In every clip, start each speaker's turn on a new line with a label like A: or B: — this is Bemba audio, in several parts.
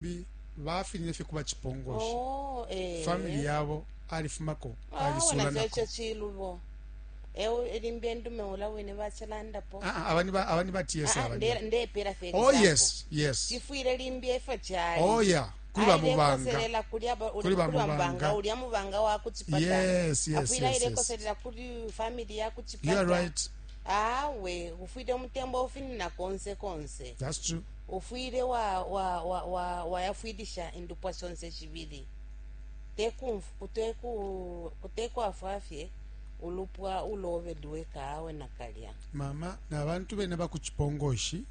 A: Bi bafinine fye kuba cipongoshi.
B: Oh, eh.
A: Family yabo alifumako
B: Awe
A: alisula
B: nacho
A: nako.
B: icho chilubo. Ewe limbi endume ula wine bachilandapo.
A: Ah, ah, abani ba abani ba TS
B: Ah, ah,
A: abani.
B: nde ndepela fye
A: Oh
B: example.
A: yes, yes.
B: Chifwile limbi efo chali.
A: Oh yeah, kuli ba mubanga.
B: Ailekoselela kuli aba
A: Kuli ba
B: kuli ba
A: mubanga.
B: mubanga ulya mubanga wa kuchipata.
A: Yes, yes,
B: Afwile
A: yes, yes.
B: ailekoselela kuli family ya kuchipata.
A: You are right.
B: Awe ufwile umutembo ufinina konse konse.
A: That's true.
B: Ufwile wa, wa, wa, wa, wayafwilisha indupwa shonse shibili. Te kumf, te ku, te kwafwa fye ulupwa ulobe lweka awe nakalya.
A: Mama na bantu bene ba ku cipongoshi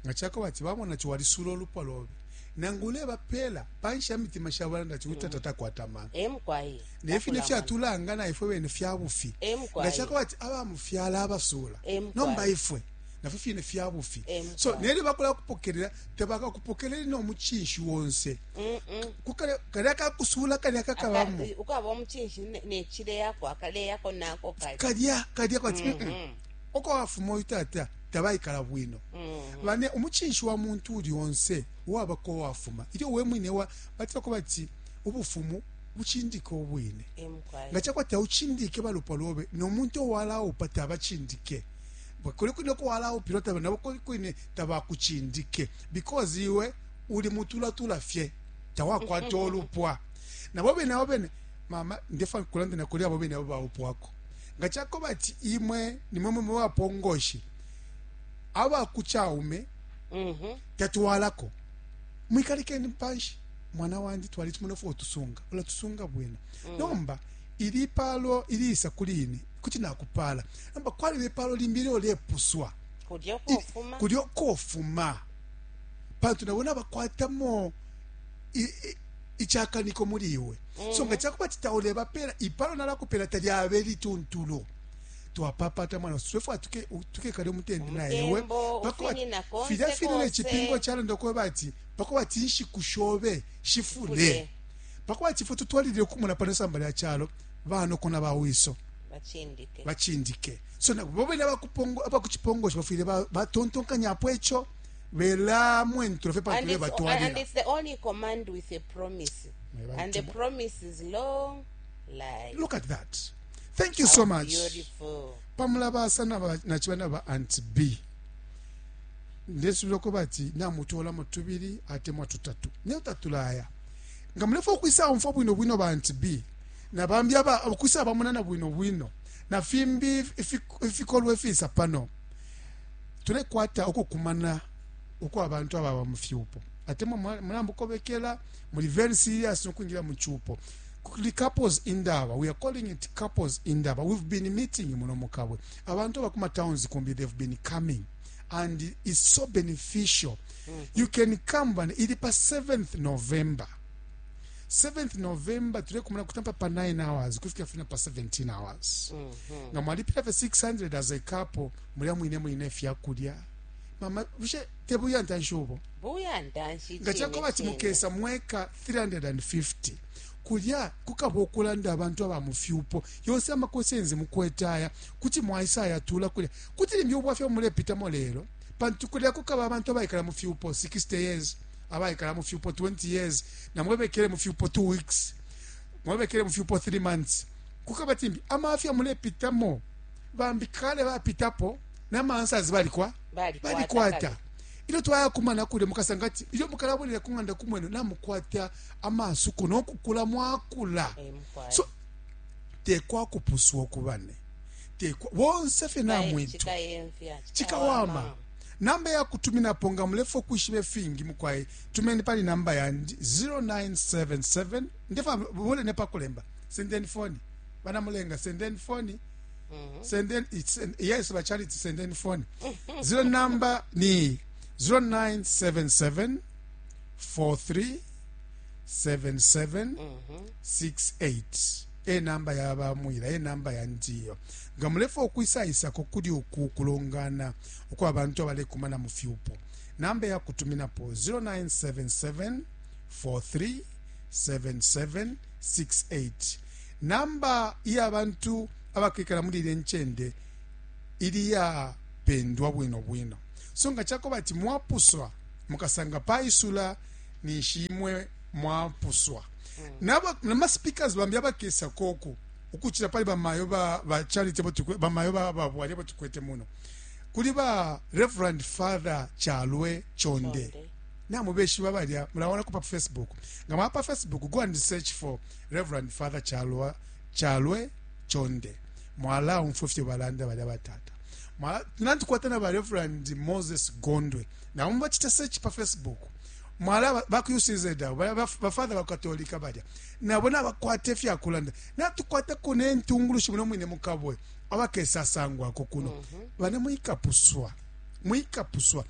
A: nga cako bati bamona ati walisula ulupwa lobe nangu ulebapela panshi ya mitima shabo balanda ati uyu tata takwata amano.
B: E mukwai.
A: Ne fine
B: Takula amano.
A: fyatulanga na ifwe bene fya bufi.
B: E
A: Nga
B: mukwai.
A: cako bati abamufyala abasula
B: E mukwai.
A: nomba ifwe nafyo fine fya bufi.
B: E
A: So
B: mukwai.
A: nelyo bakulakupokelela tabakakupokelele no mucinshi onse. Kukale kalya kakusuula kalya kakabamo.
B: Aka, ukaba umucinshi ne, ne cileyako akaleyako nako kalya.
A: Kalya kalya kwati mm -mm. Uko wafuma uyu tata tabaikala bwino. Bane umucinshi wa muntu uli onse uwaba ko wafuma. Ilyo we mwine wa batila ko bati ubufumu bucindike ubwine.
B: E mukwai.
A: Nga cakwati taucindike balupwa lobe no muntu owalaupa tabacindike. Kuli kwine uko walaupilwa taba nabo kuli kwine tabakucindike because iwe uli mutulatula fye tawakwata ulupwa. Nabo bene abo bene mama ndefa kulanda na kuli abo bene abo baupwako. Nga cakoba ati imwe nimwe mwe bapongoshi aba ku caume tatwalako mwikalekeni panshi mwana wandi twalitumona fo tusunga ulatusunga bwino nomba ili palo iliisa kuli ine kuti nakupala nomba kwaliba ipalo limbi ilyo lepuswa
B: Kulya kofuma.
A: Kulya kofuma pantu nabo nabakwatamo icakaniko muli iwe. So nga cakuba ati taulebapela ipalo nalakupela talyabe lituntulu. Twapapata mwana swefwa tuke tukekale umutende na iwe
B: Umutembo
A: pakuba
B: ufinina konse
A: filya fine ne
B: konse.
A: cipingo calanda kweba ati pakuba ati inshiku shobe shifule
B: Fule.
A: pakuba ati ifwe tutwalilile kumona pano isamba lya calo banoko na bawiso
B: Bacindike.
A: bacindike. So na bo bene abakupongo abakucipongosha bafwile batontonkanyapo ico belamwentulo fye pantu
B: And it's, and
A: bebatwalila.
B: it's the only command with a promise. And the promise is long life.
A: Look at that. Thank you so
B: How
A: much.
B: beautiful.
A: Pamulabasa naciba na ba Aunt B. Ndesubila ko bati namutolamo tubili atemwa tutatu. Nelyo tatulaya. Nga mulefwaya ukwisa umfwa bwino bwino ba Aunt B na bambi aba ukwisa bamonana bwino bwino na fimbi ifikolwe ifisa pano. Tulekwata ukukumana ukwa abantu ababa mu fyupo. Atemwa mulambukobekela muli very serious no kwingira mu cupo. Kuli couples indaba, we are calling it couples indaba. We've been meeting muno mukabwe. Abantu abakuma towns kumbi they've been coming and it's so beneficial. You can come and ili pa 7th November. 7th November tulekumana kutampa pa 9 hours kufika fina pa 17 hours. Nga mwalipila fe 600 as a couple mulya mwine mwine fyakulya. Mama bushe tebuya ntanshi ubo?
B: Buya ntanshi
A: Nga
B: chine
A: chakoba
B: chine.
A: chimukesa mweka 350 kulya kukaba okulanda abantu aba mufyupo yonse amakosenzi mukwetaya kuti mwaisa yatula kulya kuti limbi ubwafya mulepitamo lelo pantu kulya kukaba abantu abaikala mu fyupo 60 years abaikala mu fyupo 20 years na mwebekele mu fyupo 2 weeks mwebekele mu fyupo 3 months kukaba timbi amafya mulepitamo bambi kale bapitapo na answers balikwa
B: Balikwata
A: balikwata
B: kale.
A: Ilyo twayakumana kulya mukasanga ati ilyo mukalabwelera ku ng'anda kumwenu namukwata amasuko nokukula mwakula.
B: E mukwai.
A: So tekwakupuswa okubane tekwa bonse fye namwitwa
B: Chikayemfya.
A: Chikawama. Namba ya kutuminapo nga mulefo kwishiba ifingi mukwai tumeni pali namba yandi 0977 ndefa bule ne pakulemba sendeni phone bana mulenga sendeni phone sendeni it's yes ba charity sendeni phone zero number ni 0977 43 77 68 e namba ya bamwila e namba ya ndiyo nga mulefa okwisaisako kuli uku kulongana ukwa bantu abalekumana mu fyupo namba ya kutuminapo 0977 43 77 68 namba iya bantu abakwikala muli ile ncende ili yapendwa bwino bwino. So nga chakoba ati mwapuswa mukasanga paisula Ninshi imwe mwapuswa. Naba nama speakers bambi abakesa koku ukuchila pali bamayo ba, ba charity abo tukwe, bamayo ba ba bwali abo tukwete muno. Kuli ba Reverend Father Chalwe Chonde.
B: Chonde.
A: Namubeshiba balya mulaona ku pa Facebook. Nga mwa pa Facebook go and search for Reverend Father Chalwa Chalwe Chonde. Mwala umfwe fye balanda balya batata. Mwala natukwata na ba Reverend Moses Gondwe. Na umba chita search pa Facebook. Mwala ba ku UCZ abo ba, ba, ba father ba Katolika balya. Nabo nabakwata ifya kulanda. Natukwata ko ne ntungulushi muno mwine mukabwe abakesa sangwako kuno. Bana mwikapuswa. Mwikapuswa.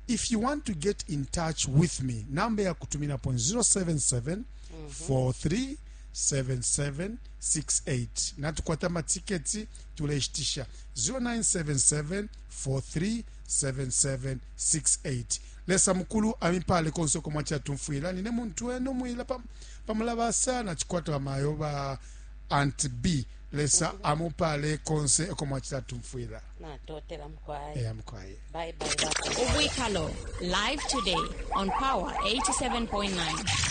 A: If you want to get in touch with me, namba ya kutuminapo 077 43 7768. Natukwata amatiketi tuleshitisha 0977 43 7768. Lesa mukulu amipale konse uko mwachila tumfwila. Nine muntu wenu mwila pamulabasa na chikwata bamayo ba Aunt B. Lesa amupale konse uko mwachila tumfwila.
B: Natotela mukwaye.
A: Eya mukwaye.
B: Bye bye.
C: Ubwikalo, live today on Power 87.9.